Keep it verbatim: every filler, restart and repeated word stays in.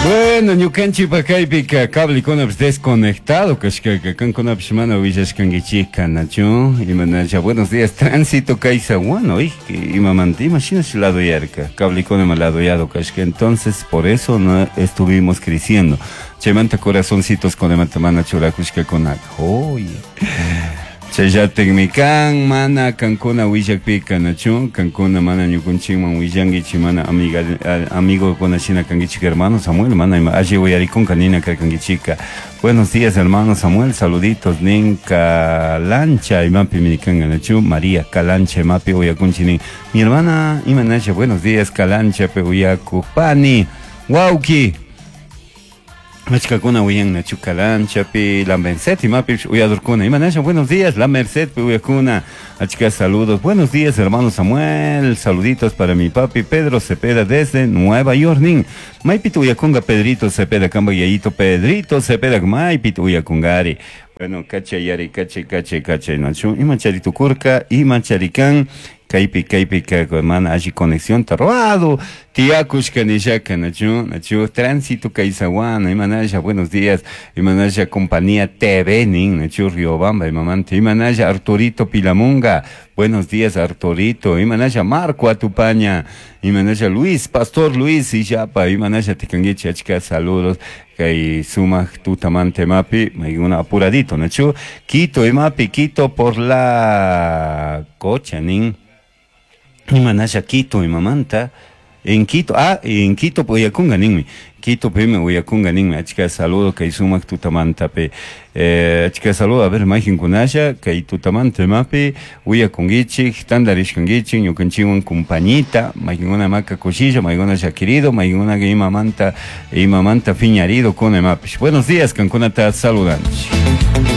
Bueno, ñukanchikpa kaypika cablekunapish desconectado kashkaka kankunapish mana willashkankichikka, nachu? Imanasha, buenos días, tránsito Caizahuano, imamanta imashinashi ladoyarka, cablekunama ladoyado kashka, entonces por eso no estuvimos creciendo. Chaymanta corazoncitos kunamanta mana churakushkakunaka. Oye. Chayllatikmi kan mana kankuna willakpika, nachu? Kankuna mana ñukunchikman willankichik, mana amiga amigokuna shina kankichik. Hermano Samuel, mana ima alli uyarikunka nina karkankichika. Buenos días, hermano Samuel, saluditos nin. Calancha imapimi kanka, nachu? María Calancha imapi uyakunchik nin. Mi hermana, imanasha, buenos días, Calanchapi uyakuj pani wawki. Achkakuna uyan, nachu? Calanchapi, La Merced imapi uyadorkuna. Imanasha, buenos días, La Merced uyakuna. Achka saludos. Buenos días, hermano Samuel. Saluditos para mi papi Pedro Cepeda desde Nueva York nin. Maypita uyakunga Pedrito Cepeda, kamba yayito Pedrito Cepeda maypita uyakungari. Bueno, kachayari, kachay, kachay, kachay, nachu? Ima charitukurka, ima charikan. Kaypi, kaypi, mana alli conexión robado. Tiakushka nishaka, nachu, nachu? Tránsito Caizahuana, imanasha, buenos días. Imanasha, compañía T V nin, nachu? Riobamba, imamanta. Imanasha, Arturito Pilamunga. Buenos días, Arturito. Imanasha, Marco Atupaña. Imanasha, Luis, Pastor Luis Illapa. Imanasha, tikanguichi, achka saludos. Kay sumak tutamante mapi, una apuradito, nachu? Quito, imapi, Quito por la cocha, nin. Imanasha, Quito, imamanta. En Quito, ah, en Quito uyakunga ninmi. Quito pimi uyakunga ninmi. Achka saludo kay sumak tutamantapi. Eh, achka saludo, a ver, mayqinkunasha kay tutamanta imapi uyakunkichik, tantarishkankichik, ñukanchikwan compañita, mayqinkuna maka kushilla, mayqinkuna llakirido, mayqinkuna imamanta, imamanta fiñarido kuna imapish. Buenos días, kankunata saludanchik.